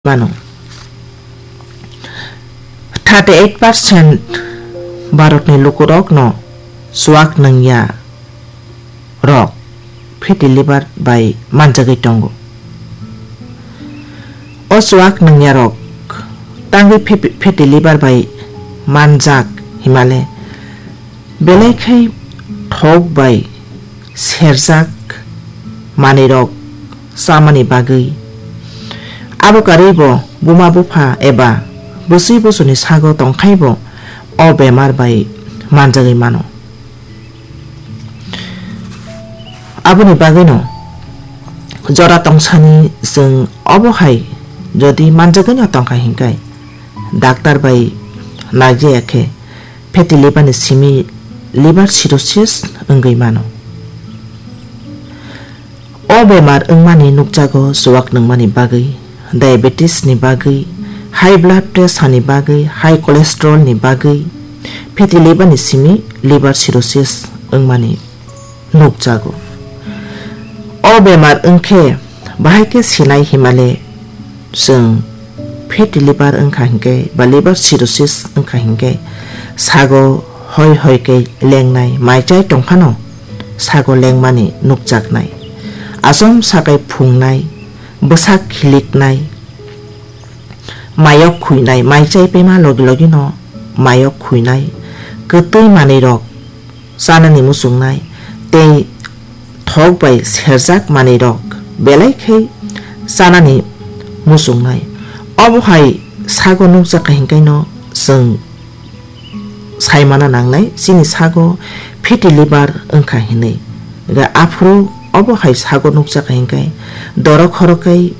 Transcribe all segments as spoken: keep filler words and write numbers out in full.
mano. Thirty eight percent Bharatni lukurokno chuak nangya rok fatty liver bai manjagwi tongo. O chuak nangya rok tangwi fe-, fatty liver bai manjak himale belai khai thok bai serjak manwirok chamani bagwi. Abo karwi bo buma bupha eba bwswi bosoni sago tongkhai bo o bemar bai manjagwi mano. Aboni bagwino jora tongsani chwng obo hai jodi manjagwino tongkha hinkhe, daktar bai naijaya khe fatty liver ni simi liver cirrhosis wngwi mano. O bemar wngmani nukjago chuak nangmani bagwi, diabetes ni bagwi, high blood pressure ni bagwi, high cholesterol ni bagwi, fatty liver ni simi liver cirrhosis wngmani nukjago. O bemar wngkhe bahai khe sinai himale chwng fatty liver wngkha hinkhe ba liver cirrhosis wngkha hinkhe sago hoi hoi khe lengnai, mai chai tongphano sago lengmani nukjaknai. Achom sakai phungnai, bwsak khiliknai, mayok khuinai, mai chai paima logi logi no mayok khuinai, kwtwi manwi rok chanani muchungnai tei thok bai serjak manwi rok belai khe chanani muchungnai. Obo hai sago nukjakha hinkhe no chwng saimano nangnai chini sago fatty liver wngkha hinwi. Ga aphuru obo hai sago nukjakha hinkhe dorok khoroknwi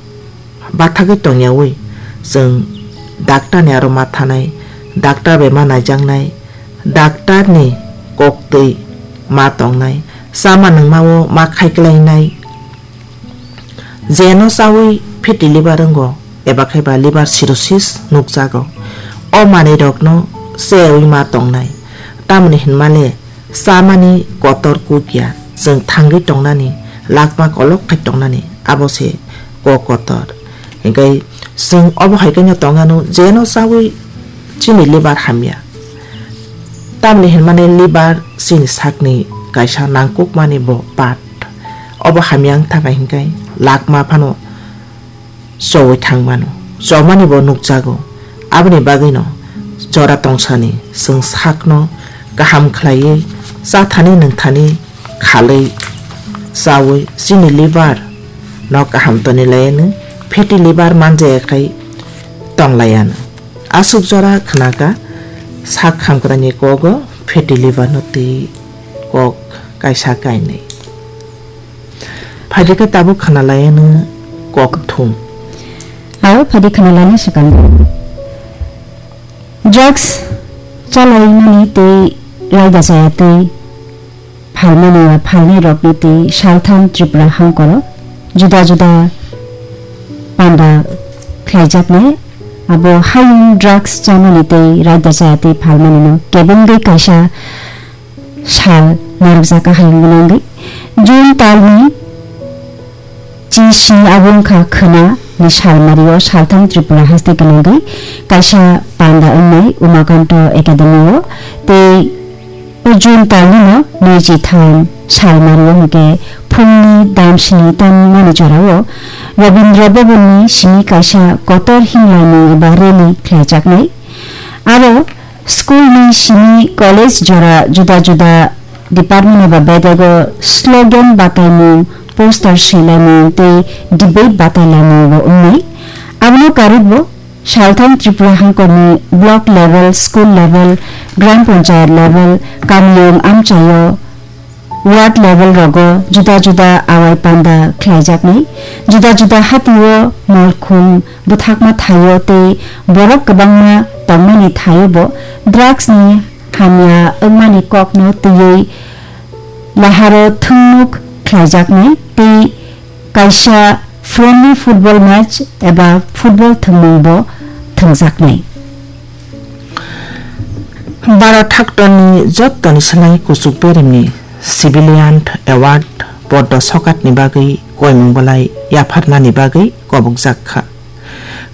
bathagwi tongyawi chwng daktarni aro ma thanai, daktar bai ma naijaknai, daktarni koktwi ma tongnai, chama nungmao ma khaiklainai, jeno chawi fatty liver wngo eba khe ba liver cirrhosis nukjago. O manwirokno cheyawi ma tongnai, tamoni hinmale chamani kotor kuk ya, chwng thangwi tongnani, lakma kolok khai tongnani, abo se kok kotor. Hinkhe chwng obo hai khe no tongano, jeno chawi chini liver hamya. Tamni hinmani liver chini sakni kaisa nangkukmani bo part. Obo hamya wng thangkha hinkhe lakma phano chowi thangmano, chomani bo nukjago. Aboni bagwino jora tongsani chwng sakno kaham khlaiwi chathani nungthani khalwi chawi chini liver no kaham toni laiano, fatty liver manjaya khai tong laiano. Aswk jora khnaka sak hamkraini kogo fatty liver no twi kok kaisa kainwi. Phaidi khe tabuk khna laiano kok thum. Aro phaidi khna laina swkang. Drugs chalaimani tei raida chaya tei phalmani ya phalnai rokni tei salthang Tripura hangkoro juda juda panda khlaijaknai. Abo hayung drugs chamani tei raida chaya tei phalmani no kebengwi kaisa sal narwkjak, ahai wngwi nangwi. June talni chi sni abo wngkha khwna ni salmario salthang Tripura haste gwnangwi kaisa panda wngnai Umakanto Academy o tei o June talni no nwichi tham salmario hwnkhe phungni dam sni tongmani jorao Rabindra Bhavan ni simi kaisa kotor himlaimung eba rally khlaijaknai. Aro school ni simi college jora juda juda department eba bedego slogan bataimung, poster swilaimung tei debate batailaimung bo wngnai. Abono karwibo salthang Tripura hangkorni block level, school level, gram panchayat level, kamiyung amchaio ward level rogo juda juda awai panda khlaijaknai. Juda juda hatio malkhung bwthakma thaio tei borok kwbangma tongmani thaio bo drugs ni hamya wngmani kokno twiwi laharo thwngnuk khlaijaknai tei kaisa friendly football match eba football thwngmung bo thwngjaknai. Bharat haktorni jottoni swlai kuchuk berimni Civilian Award poddo sokatni bagwi koimung bolai yapharnani bagwi kobokjak kha.